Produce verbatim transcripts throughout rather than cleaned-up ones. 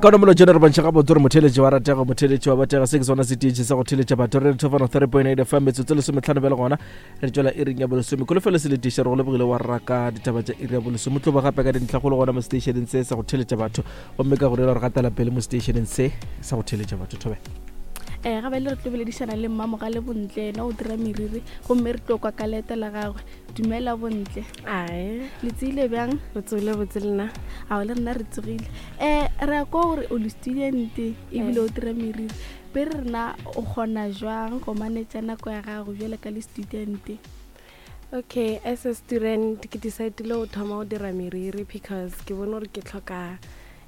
Kaone molo jeno re bontšha gabotse gore motheletši wa ratega, motheletši wa batega. Se ke sona setietši sa go theletša batho re thofana three point eight F M. Metsotso lesometlhano bjale gona re tšwela iring ya bolesome. Kolofelo se letiša re go lebogile wa raka ditaba tša iri ya bolesome. Tlo ba gape ka dintlhakgolo gona mo stationeng se sa go theletša batho, gomme ka go dira re gatela pele mo stationeng se sa go theletša batho. Thobe. um ga bale re tlo boledišana le Mmamogale Bontle, ena o dira meriri, gomme re tlo kwa ka leeto la gagwe. Dumela, Bontle. Ae. Le tsile bjang? Re tsogile botse, lena? Ao, le rena re tsogile. um re ya kwa gore o le student ebile o dira meriri be re rena, o kgona jwang go manetša nako ya gago bjale ka le student? Okay, as a student ke decidile go thoma go dira meriri because ke bone gore ke tlhoka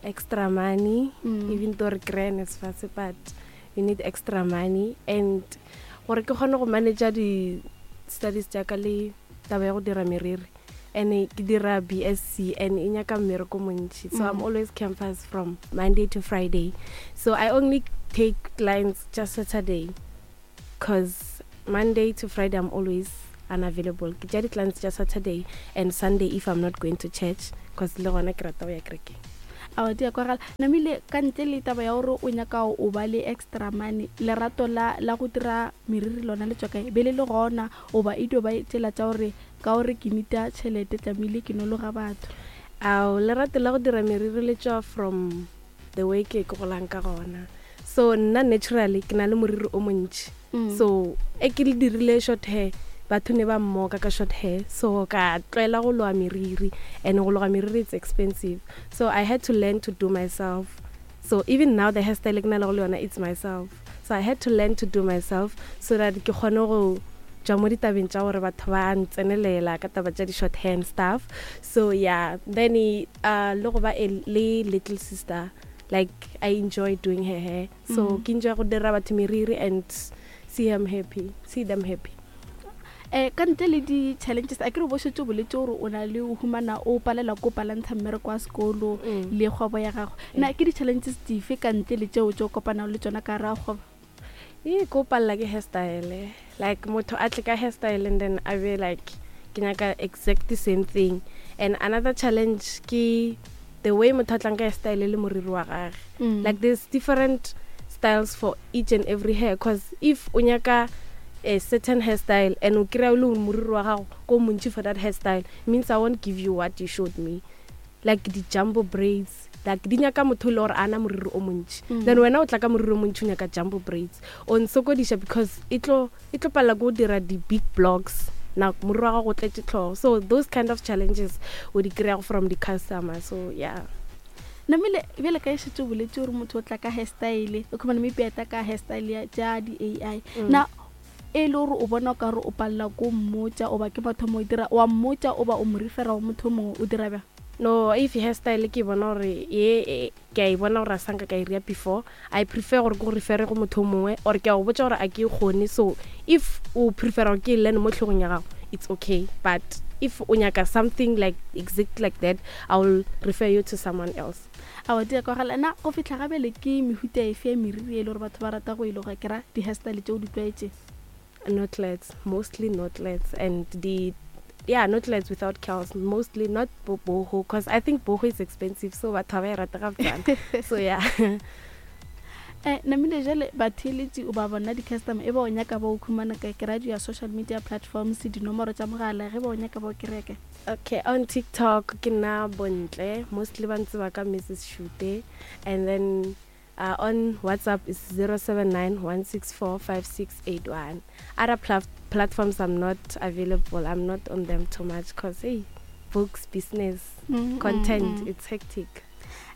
extra money. Mm. Even though re kry-a NSFAS, but we need extra money, and gore ke kgone go manage di-studies tša ka le taba ya go dira meriri. And ke dira B S C and e nyaka mmereko montši, so I'm Mm. always campus from Monday to Friday, so I only take clients just Saturday because Monday to Friday I'm always unavailable. Ke tša di-clients tša Saturday and Sunday if I'm not going to church, because le gona ke rata go ya kerekeng. Ao, di a kwagala. Namile ka ntle le taba ya gore o nyaka o ba le extra money, lerato la la go dira meriri lona le tswa kae? Be le le gona oba e dio ba tsela tša gore ka gore ke nita tšhelete, tlamehile ke nologa batho? Ao, lerato la go dira meriri le tswa from the way ke ke golang ka gona. So nna naturally ke na le moriri o montši. Mm. So e ke le dirile short hair, batho ne ba mmoka ka short hair, so ka tlwaela go loga meriri, and go loga meriri, it's expensive, so I had to learn to do myself. So even now the hairstyle ke na le go le yona, it's myself. So I had to learn to do myself so that ke kgone go tswa mo ditabeng tša gore batho ba ntsenelela ka taba tša di-short hair and stuff. So yeah, then uh, le go ba a le little sister, like I enjoy doing her hair, so Mm. ke enjoy go dira batho meriri and see them happy see them happy. um ka ntle le di-challenges, a ke re bo šetse o boletse gore o na le o humana o palela ko palantsha mmereko wa sekolo Mm. le kgwebo ya gago, na ke di-challenges dife ka ntle le tšeo tse o kopanago le tsona ka gare ga kgwebo? E ko palela ke hairstyle, like motho a tle ka hairstyle and then a be like, ke nyaka exact the same thing. And another challenge ke the way motho a tlang ka hairstyle le moriri wa gage. Mm. Like there's different styles for each and every hair, cause if o nyaka a certain hairstyle and o kry-a o le gore moriri wa gago ko montši for that hairstyle, means I won't give you what you showed me. Like di-jumbo braids, like di nyaka motho e le gore a na moriri o montši. Mm. Then wena o tla ka moriri o montši, o nyaka jumbo braids, o nsokodiša because e tlo e tlo palela ke go dira di-big blocks na moriri wa gago o tletše tlhogo. So those kind of challenges o di kry-ago from the customer, so yeah. Namile bjale ka e šetse o boletse gore motho o tla ka hairstyle, o khumana maybe a tla ka hairstyle ya tša di-A I. Mm. Na e le gore o bona o ka re o palela ko mmotša, oba ke mathomo o dira wa mmotša, oba o mo refera go motho o mongwe, o dira bjang? No, if hairstyle ke bona gore ye e- ke a e bona gore a sanka ka e ria before, I prefer gore ke go refere go motho o mongwe, or ke a go botša gore a ke e kgone. So if o prefera gore ke e learn mo tlhogong ya gago, it's okay, but if o nyaka something like exact like that, I will refer you to someone else. Ao, di a kwagala. Na go fitlha gabele ke mehuta efe ya meriri e le gore batho ba rata go e loga, ke ra di-hairstyle tse o di tlwaetseng? Knotlets, mostly knotlets, and the, yeah, knotlets without curls mostly, not bo- boho, because I think boho is expensive, so batho ga ba e rate gabotsana. So yeah. um namile jale batheeletši o ba bona di-customer e ba o nyaka ba o khumana kae, ke radio ya social media platforms, dinomoro tša mogala, ge ba o nyaka ba o kereke? Okay, on TikTok ke nna Bontle, mostly ba ntseba ka Missus Shute, and then uh, on WhatsApp is zero seven nine one six four five six eight one. Other pla- platforms I'm not available. I'm not on them too much because, hey, books, business, Mm, content, mm, mm. it's hectic.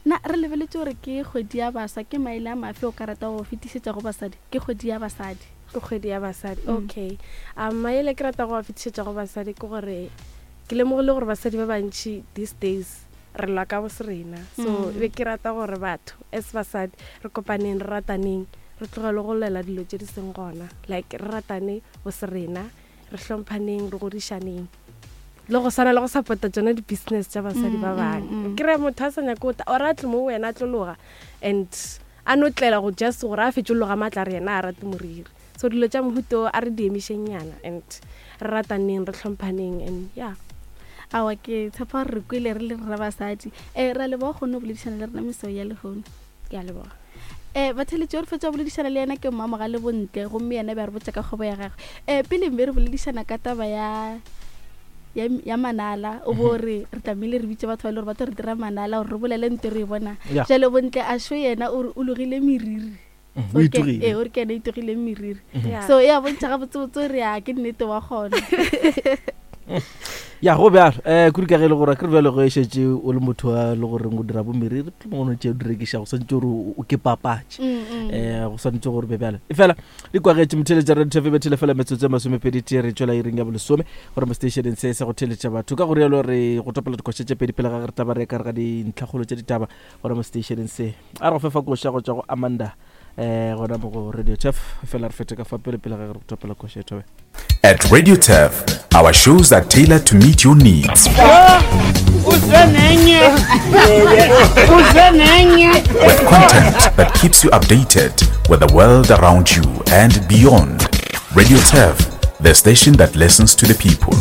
Na re lebeletse gore ke kgwedi ya baswa, ke maele a mafe o ka rata go fetišetša go basadi? Ke kgwedi ya basadi. Ke kgwedi ya basadi. Mm. Okay, um maele ke rata go a fetišetša go basadi ke gore ke lemogile gore basadi ba bantši these days re lwa ka bo se rena, so Mm. be ke rata gore batho as basadi re kopaneng, re rataneng, re tlogele go lwela dilo tše di seng gona. Like re ratane bo se rena, re hlomphaneng, re godišaneng, le go swana le go support-a tsona di-business tša basadi Mm, ba mm, bangwe. mm. Kry motho a sa nyake go ta or a tle mo go wena a tlo loga and a no tlela go just gore a fetse loga maatla re yena a rate moriri. So dilo tša mohuto a re di emišengnyana and re rataneng, re hlomphaneng, and yeah. Aowa, ke tshepa gore re kwele re le rra basadi. Um ra leboga kgone go boledišana le rena meseo ya lehono. Ke a leboga. Um batheletši re fetša boledišana le yena ke Mmamogale Bontle, gomme yena be a re botša ka kgwebo ya gagwe. Um pele mme re boledišana ka taba ya ya, ya manala, o bo re re tlamehile re bitše batho ba e le gore ba tlo re dira manala gore re bolele nto re e bona. Ya. Jalo Bontle a sho yena o re o logile meriri. Mm, O o re ke- itogile. ee, o re ke yena a itogileng meriri. Yeah. So e a bontšha gabotsebotse gore ya ke nnete wa kgona. Ya go bjalo um kudu ka ge e le gore ke re bjalo ge e šetše o le motho wa le goreng o dira bo meriri mohlomongwe o tše o di rekiša go swantse gore o o ke papatše. Mm, mm. Um go swantse gore be bjalo e fela di kwagetše motheletša radio T V bethele fela metsotso e masomepedi tee re tšwela iring ya bolesome gore mo stationeng se sa go theletša batho ka go rialo re go topela dikoša tše pedi pele ga ge re taba re ka re ga dintlhakgolo tša ditaba gore mo stationeng se a re go fefa koša go tšwa go Amanda um gona mo go Radio Turf fela re fete ka fa pele pele ga ge re go topela koša e thobe. At Radio Turf, our shows are tailored to meet your needs. With content that keeps you updated with the world around you and beyond. Radio Turf, the station that listens to the people.